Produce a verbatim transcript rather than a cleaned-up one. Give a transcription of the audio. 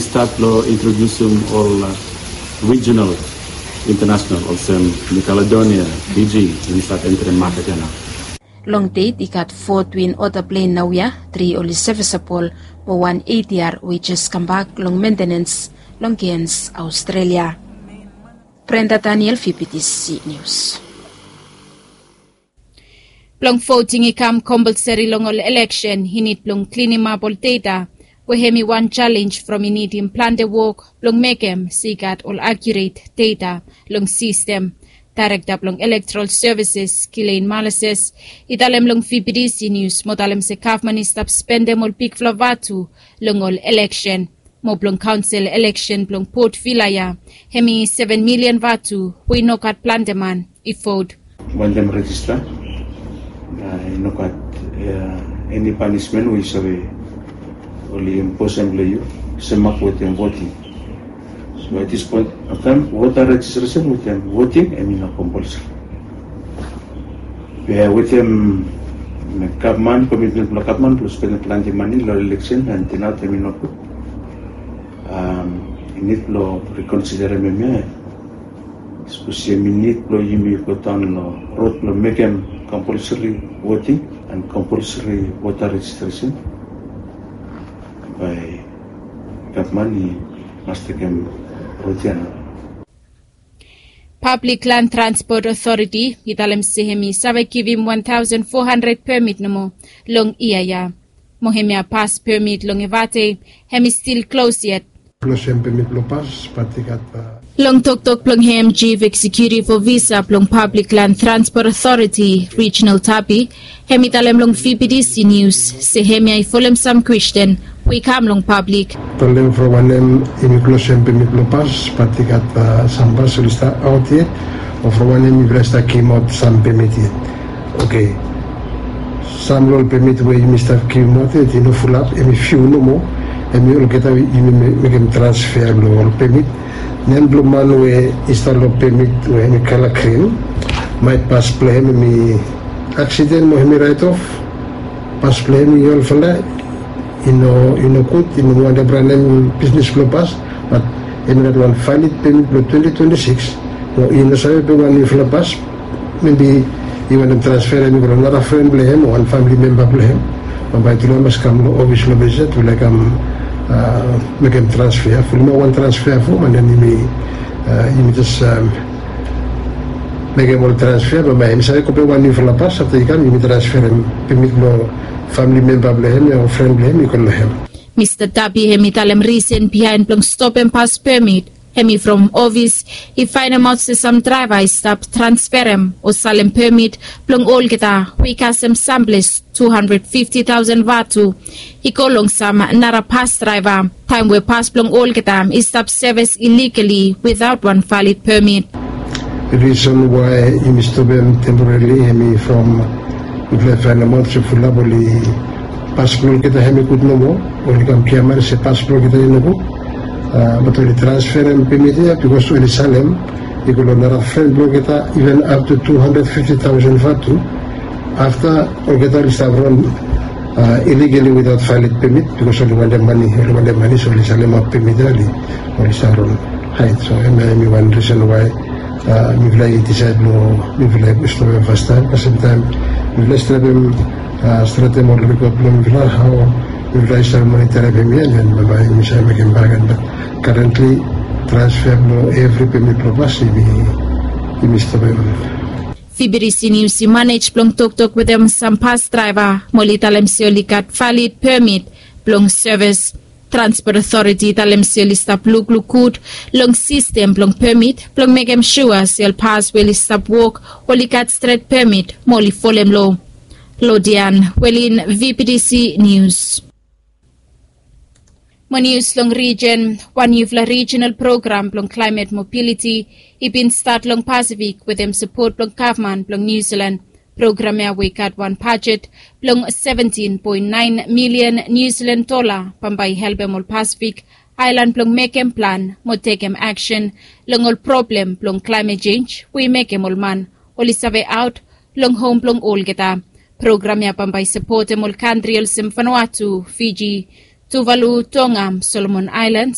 Stat long introdiusim ol rijinal, internasonal olsem New Caledonia, Fiji, insait entri maket ya nao. Long deit i gat fo twin ota plen naoia, tri oli sevisabol, mo wan eit yia we i jes kambak long mentenens long Cairns, Australia. Brenda Daniel, V B T C News. Blong voting i kam kompolseri long ol eleksen i nid blong klinimap ol data, we hem i wan jalenj from i nidim plante wok blong mekem se i gat ol akiuret data long sistem. Daerekta blong Elektoral Sevises, Gillian Malises, i talem long V B T C Nius mo talem se gavman i stap spendem ol bigfala vatu long ol eleksen. Mo blong kaonsel eleksen blong Port Vila ya, hem i seven milian vatu we i no gat plante man i vot. Wantem rejista, a, i no gat eni panismen we yu save oli imposem long yu, sem ap wetem voting. So at this point of time, voter registration wetem voting hem i no kompolseri. Be wetem gavman, komitmen blong gavman blong spendem plante mane long eleksen and tinaot hem i no gud. I nid blong rikonsiderem hemia. Sapos yumi nid blong yumi godaon long rod blong mekem kompolseri voting and kompolseri voter rejistresen, bae gavman i mas tekem rod ya nao. Pablik Lan Transpot Otoriti i talem se hem i save givim wan taosen fo handred pemit nomo long yia ya. Mo hemia pas pemit long Evate, hem i stil klos yet. Klosem pemit blong pas, bat i gat, a, long toktok blong hem, Jif Eksekutif Ofisa blong Pablik Lan Transpot Otoriti, Reginald Tapi, hem i talem long V B T C Nius se hemia i folem sam kwesten we i kam long pablik. Talem from wanem yumi klosem pemit blong pas, bat i gat, a, sam pas oli stap aot yet, o from wanem yumi stap givimaot sam pemit yet. Oke. Sam long ol pemit we yumi stap givimaot yet i no fulap, hem i fiu nomo, hem i olgeta yumi me-, mekem transfea long ol pemit. Nem blong man we i stap long pemit we hem i kala grin, maet pas blong hem hem i aksiden mo hem i raet of, pas blong hem i olfala, i no, i no gud, i no wantem ranem bisnis blong pas, bat hem i gat wan valid pemit blong twenti twenti sikis, mo i no save pem wan niufala pas, maybe i wantem transferem i go long nara fren blong hem o wan famili memba blong hem. Bambae tule i mas kam long ofis long Vesat, tule i kam, a, mekem transfea, fulumap wan transfea fom, and then yumi, a, yumi jes, a, mekem ol transfea, bambae hem i save go pem wan niufala pas, afta i kam yumi transferem pemit blong famili memba blong hem o fren blong hem i go long hem. Mista Tapi hem i talem risen biaen blong stopem pas pemit hem i from ofis i faenemaot se sam draeva i stap transferem o salem pemit blong olgeta we i kasem samples tu handred fifti taosen vatu i go long sam nara pas draeva, taem we pas blong olgeta i stap sevis iligali witaot wan valid pemit. Risen wae yumi stopem temporarili hem i from mifala i faenemaot se fulap oli pas blong olgeta hem i gud nomo, oli kam giaman se pas blong olgeta i nogud. A, bat oli transferem pemit ya bikos oli salem i go long nara fren blong olgeta, iven aptu tu handred fifti taosen vatu. Afta olgeta oli stap ron, a, iligali witaot valid pemit bikos oli wantem mane, oli wantem mane, so oli salemap pemit ya, oli, oli stap ron haed. So hemia hem i wan risen wae, a, mifala i disaed long mifala i stopem fastaem, kasem taem mifala i stapem, a, stretem ol rekod blong mifala, hao mifala i save moniterem hemia, then bambae yumi save mekem bagen, bat karentli transfea blong evri pemit blong pas yumi, yumi stopem. V B T C Nius i manej blong toktok wetem sam pas draeva mo oli talem se oli gat valid pemit blong sevis. Transpot Otoriti i talem se oli stap lukluk gud long sistem blong pemit blong mekem sua se ol pas we oli stap wok oli gat stret pemit mo oli folem loa. Lodian Welin, V B T C Nius. Mo nius long rijen, wan niufala rijinal program blong klaemet mobiliti i bin stat long Pasifik wetem sapot blong gavman blong Niu Silan. Program ya we i gat wan bajet blong seventin poen naen milian Niu Silan dola bambae i helpem ol Pasifik aelan blong mekem plan mo tekem aksen long ol problem blong klaemet jenj we i mekem ol man oli save aot long hom blong olgeta. Program ya bambae i sapotem ol kantri olsem Vanuatu, Fiji, Tuvalu, Tonga, Solomon Aelans,